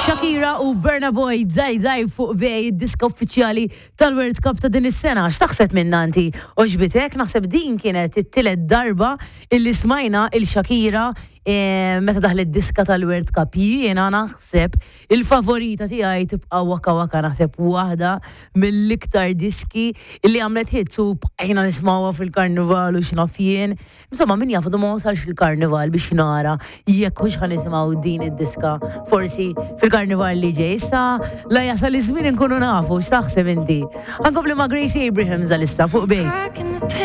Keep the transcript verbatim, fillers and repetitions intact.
Shakira u Burna Boy Dai Dai fuq Bay, diska uffiċjali tal-World Cup ta' din is-sena. X'taħseb minna inti? Għoġbitek? Naħseb din kienet it-tielet darba illi smajna lil Shakira eh, meta daħlet diska tal-World Cup. Jiena naħseb il-favorita tiegħi tibqa' Waka Waka, naħseb waħda mill-iktar diski illi għamlet hits u bqajna nismawha fil-karnival u x'naf jien. Insomma, min jaf, ma wasalx il-karnival biex nara jekk hux ħa nisimgħu din id-diska forsi fil-karnival li ġej. Issa la jasal iż-żmien inkunu nafu. X'taħseb inti? Ħa nkompli ma' Gracie Abrams għalissa fuq Bay. Crack in the